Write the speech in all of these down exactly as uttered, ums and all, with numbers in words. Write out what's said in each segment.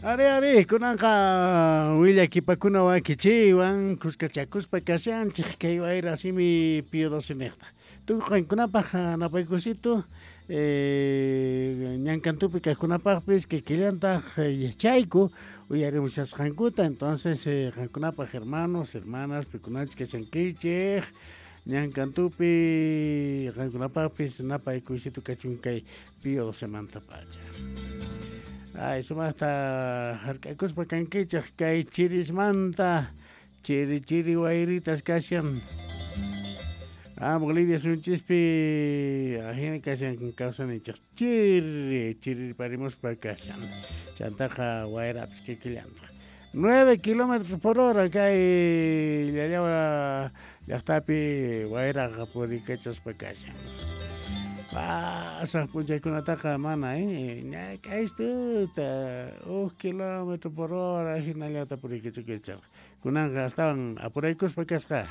Ari, ari, kunanqa willakipakuna wakichiwan kuskachakuspa kashanchik kay wayra simi Pío doce niqta. Tukuy qankunapaq napaykusito eh, ñankantupi kaqkunapaqpis kikillantaq yachayku uyarimushasqankuta. Entonces eh, qankunapaq hermanos, hermanas, pikunachus kashankichik ñankantupi qankunapaqpis napaykusito kachun kay Pío docemanta pacha. Ay, sumaqta hark'akuspa kankichik kay chirismanta chiri chiri wayritas kashan. Ah, Bolivia sunchispi ajina kashan kawsanichik chiri chiri parimuspa kashan. Chantaqa wayrapis kikillantaq. Nueve kilómetros por hora kay Llallawa llaqtapi wayraqa purikachaspa kashan. Pasaq p'unchaykunataqa mana eh ñak'aystuta huk kilómetro por hora hinallata purikachakuychaq. Kunanqa astawan apuraykuspa kasqa.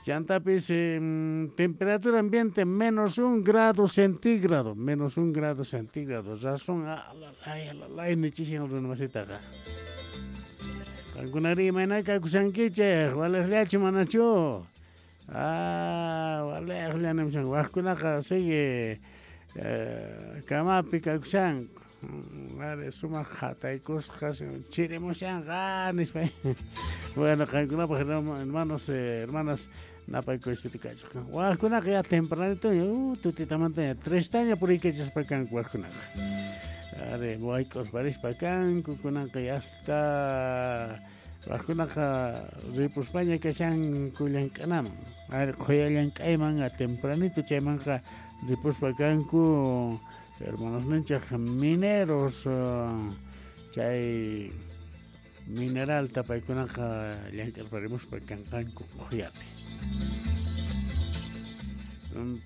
Chantapis eh, temperatura ambiente menos un grado centígrado, menos un grado centígrado. Razón alalay alalay nichishan runamasitaqa. Qankunari imayna kakushankichik, waliqllachu manachu? Ah, waliqlla nimushan. Waqkunaqa sigue eh, kamapi kakushanku. Ari sumaq hataykusqa chirimushanqa nispa. Bueno, qankunapaq hermanos, eh, hermanas napaykusito kachuk. Waqkunaqa ya tempranito uh, tutitamanta trestaña puriykachaspa kanku waqkunaqa. Ari wayk'uspa rispa kanku kunanqa ya hasta waqkunaqa ripuspaña kashanku llank'anaman. Ari qhuya llank'ayman tempranito chaymanqa ripuspa kanku hermanos ninchik mineros chay mineral paykunaqa llank'arparimuspa kanqanku qhuyapi.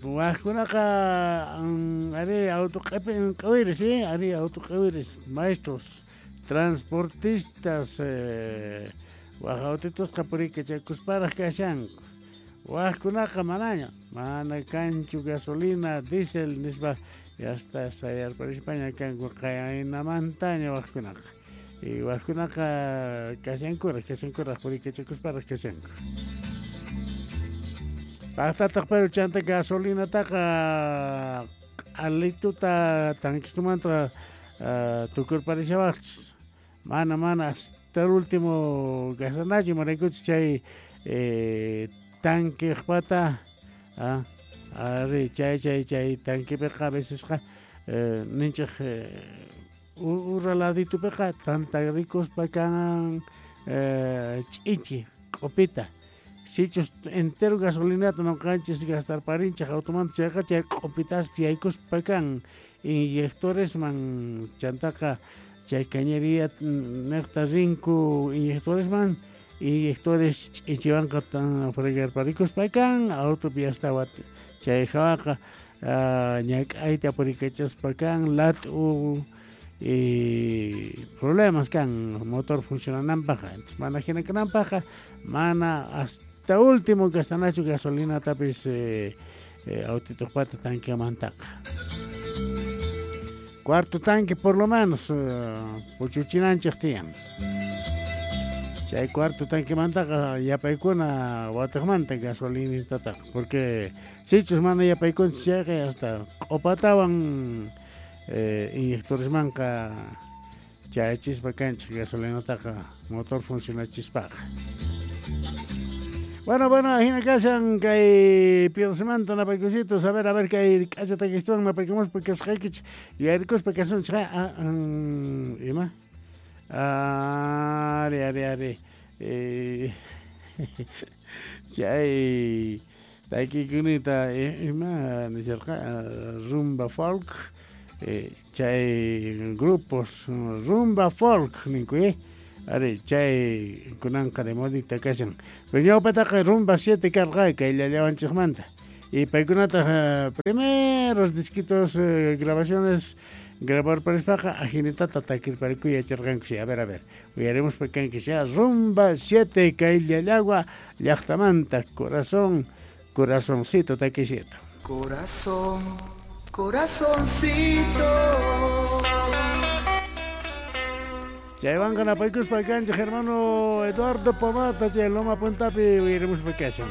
Waqkunaqa ari auto q'iwiris eh ari auto q'iwiris maestros transportistas eh, waq autitusqa puriykachakusparaq kashanku. Waqkunaqa manaña mana kanchu gasolina diésel nispa hasta sayarparispaña kanku qaynamantaña waqkunaqa. Y waqkunaqa kashankuraq kashankuraq puriykachakusparaq kashanku. Paqtataq pero chanta gasolinataqa alituta tanquistumanta uh, tukurparishawaqchis. Mana mana hasta el último gastanachu imaraykuchus chay eh, tanqueqpata ah, ari chay chay chay tanquepiqa a vecesqa eh, ninchik eh, ura laditupiqa tantarikuspa kan eh, ch'ichi q'upita. Sichus entero gasolinata noqanchis gastarparinchik automanta chayqa chay q'upitaspi yaykuspa kan inyectoresman chantaqa chay cañería niqta rinku inyectoresman inyectores ch'ichiwanqa fregarparikuspa kan autopi hasta chay hawaqa ñak'ayta purikachaspa kan lat'u y problemas kan motor funcionananpaqqa. Entonces mana hina kananpaqqa mana hasta último gastanachu gasolinatapis eh, eh, autituqpata tanqueamantaqa. Cuarto tanque por lo menos eh, puchuchinanchik tiyan. Chay cuarto tanquemantaqa yapaykuna watiqmanta gasolinitataqa porque sichus mana yapaykunchis chayqa hasta q'upatawan eh, inyectoresmanqa chayachispa kanchik gasolinataqa motor funcionachispaqa. Bueno, bueno, hina kashan kay Pío docemanta napaykusitos. A ver, a ver, kay k'acha takistuwan napaykumuspa kasqaykichik yuyarikuspa kasunchik. Ah, um, ima? Ari, ari, ari. Eh, chay takikunita ima nisharqa rumba folk eh, chay grupos rumba folk ninku eh. Ari chay kunanqa de modita kashan. Pero ñawpataqa rumba siete karqa kay llallawanchikmanta. Y paykunataq uh, primeros disquitos eh, grabaciones grabarparispaqa ajinitata takirparikuy yacharqanku. Sí, a ver, a ver. Uyaremos kanki sea rumba siete kay llallagua llaqtamanta corazón, corazoncito takisito. Corazón, corazoncito. Chaywanqa napaykuspa kanchik hermano Eduardo Pomata chay Loma Puntapi uyarimuspa kashan.